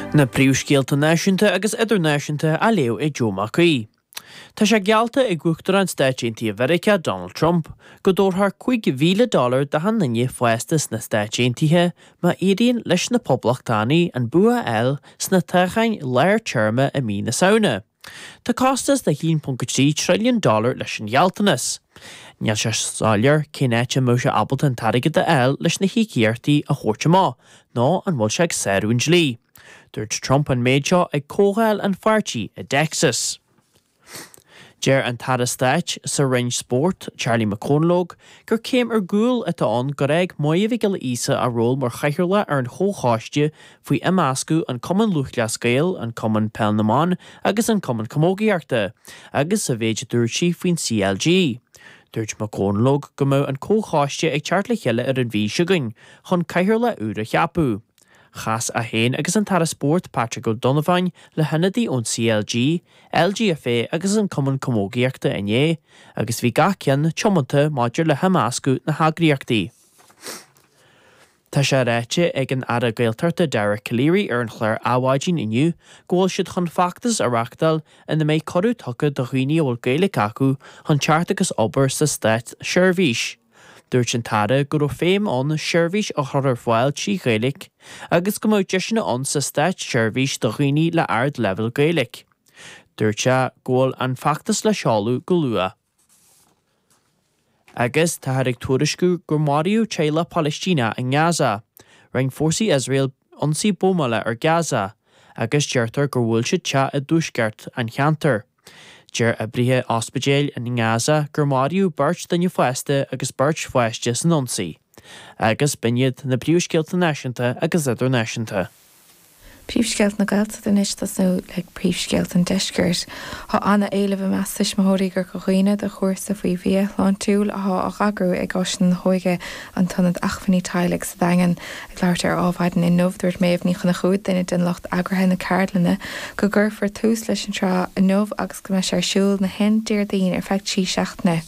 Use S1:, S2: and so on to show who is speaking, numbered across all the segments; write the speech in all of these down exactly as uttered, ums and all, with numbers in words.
S1: Na príomhscéalta náisiúnta agus idirnáisiúnta á léamh ag Joe Mac Aoidh. Tá sé geallta ag Uachtarán Stáit Aontaithe Mheiriceá Donald Trump go dtabharfar cúig mhíle dollar d'achan duine fásta sna Stáit Aontaithe má éiríonn leis na Poblachtánaigh an bua a fháil sna toghcháin lár téarma i mí na Samhna. Tá costas de haon ponc trí trilliún dollar leis an ghealltanas. Níl sé soiléir cén áit a mbeadh sé ábalta an t-airgead a fháil leis na híocaíochtaí a thabhairt amach, nó an bhfuil sé ag sárú an dlí. Dúirt Trump an méid seo ag comhdháil an pháirtí i dTexas. Deir an tAire Stáit sa Roinn Spóirt Charlie McConalogue gur céim ar gcúl atá ann gur fhág Máire Mhic Giolla Íosa a ról mar chathaoirleach ar an chomhchoiste faoi imeascadh an Cumann Lúthchleas Gael, an Cumann Peil na mBan agus an Cumann Camógaíochta, agus sa mhéid a dúirt sí faoin CLG. Dúirt McConalogue go mbeadh an comhchoiste ag teacht le chéile ar an mhí seo chugainn chun cathaoirleach úr a cheapadh. Chas é féin agus an tAire Spóirt Patrick O'Donovan le hionadaí ón CLG, LGFA agus an Cumann Camógaíochta inné, agus bhí gach ceann tiomanta maidir le himeascadh na heagraíochtaí. Tá sé ráite ag an Aire Gaeltachta Dara Calleary ar an chlár Adhmhaidin inniu go bhfuil siad chun feachtas a reáchtáil ina mbeidh cuireadh tugtha do dhaoine a bhfuil Gaeilge acu chun teacht agus obair sa státseirbhís. Dúirt an tAire go raibh feidhm ann seirbhís a chur ar fáil trí Ghaeilge agus go mbeadh deiseanna ann sa státseirbhís do dhaoine le ardleibhéal Gaeilge. Dúirt sé go bhfuil an feachtas le seoladh go luath. Agus táthar ag tuairisciú gur maraíodh teaghlach Palaistíneach i nGaza. Rinne fórsaí Iosrael ionsaí buamála ar Gaza, agus deirtear gur bhuail siad teach i dtuaisceart an cheantair. Deir oibrithe ospidéil in nGaza gur maraíodh beirt duine fásta agus beirt pháiste san ionsaí. Agus b'in iad na príomhscéalta náisiúnta agus idirnáisiúnta.
S2: Príomhscéalta na Gaeltachta anois tosnú le príomhscéalta an deiscirt. Tá an-éileamh i measc tuismitheoirí i gCorca Dhuibhne do chúrsa faoi bhia shláintiúil atá á eagrú ag Áiseanna na hÓige an tIonad Acmhainní Teaghlaigh sa Daingean. Ag labhairt ar Adhmhaidin inniu dúirt Méabh Ní Chonchúir duine den lucht eagraithe na ceardlainne go gcuirfear tús leis an tsraith inniu agus go mbeidh sé ar siúl na haon Déardaoin ar feadh trí seachtaine.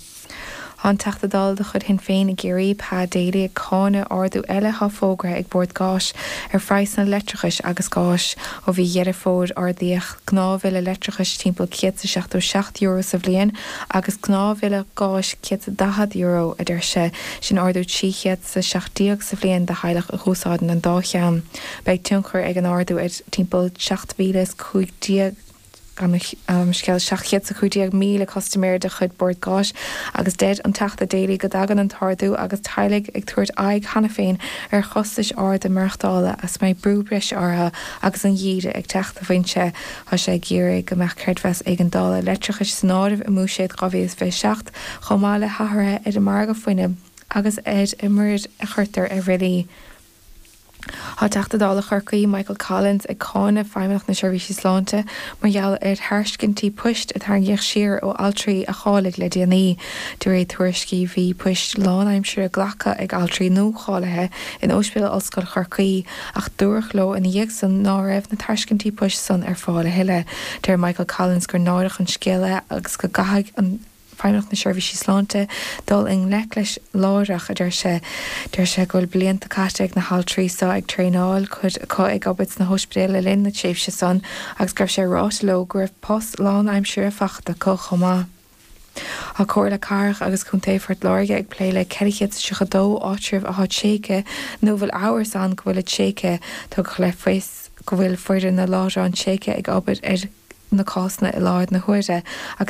S2: Tá an Teachta Dála de chuid Shinn Féin i gCiarraí Pa Daly ag cáineadh ardú eile atá fógartha ag Bord Gáis ar phraghsanna leictreachais agus gáis ó mhí Dheireadh Fómhair ardaíodh gnáthbhille leictreachais timpeall céad seachtó seacht euro sa bhliain agus gnáthbhille gáis céad daichead euro a deir sé sin ardú trí chéad seacht déag sa bhliain do theaghlach a úsáideann an dá cheann. Beidh tionchar ag an ardú ar timpeall seacht mhíle is cúig déag um, scéal seacht chéad is cúig déag míle custaiméir de chuid Bord Gáis agus deir an Teachta Daly go dtagann an t-ardú agus teaghlaigh ag tabhairt aghaidh cheana féin ar chostais arda maireachtála as mbeidh brú breise orthu agus an geimhreadh ag teacht a bhainte Tá sé ag iarraidh go mbeadh creidmheas éigeandála leictreachais san áireamh i mbuiséad dhá mhíle is fiche seacht chomh maith le hathruithe ar an margadh fuinnimh agus ar an muirear a chuirtear ar bhillí. Tá Teachta Dála Chorcaí Michael Collins ag cáineadh Feidhmeannacht na Seirbhísí Sláinte mar gheall ar thairiscintí poist a tarraingíodh siar ó altraí a cháiligh le déanaí. De réir tuairiscí bhí poist lánaimseartha glactha ag altraí nuacháilithe in Ospidéal Ollscoile Chorcaí ach dúradh leo ina dhiaidh san ná raibh na tairiscintí poist san ar fáil a thuilleadh. Deir Michael Collins gur náireach an scéal é agus go gcaithfidh an Feidhmeannacht na Seirbhísí Sláinte dul i ngleic leis láithreach a deir sé deir sé go bhfuil blianta caite ag na haltraí seo ag traenáil cuid acu ag obair sna hospidéil le linn na tréimhse san agus go raibh sé ráite leo go raibh post lánaimseartha faighte acu chomh maith. Tá Comhairle Cathrach agus Contae Phort Láirge ag plé le ceithre chéad tríocha dó áitreabh atá tréigthe nó bhfuil amhras ann go bhfuil tréigthe tugadh le fios go bhfuil foireann na láithreán tréigthe ag obair ar na cásanna i láthair na huaire agus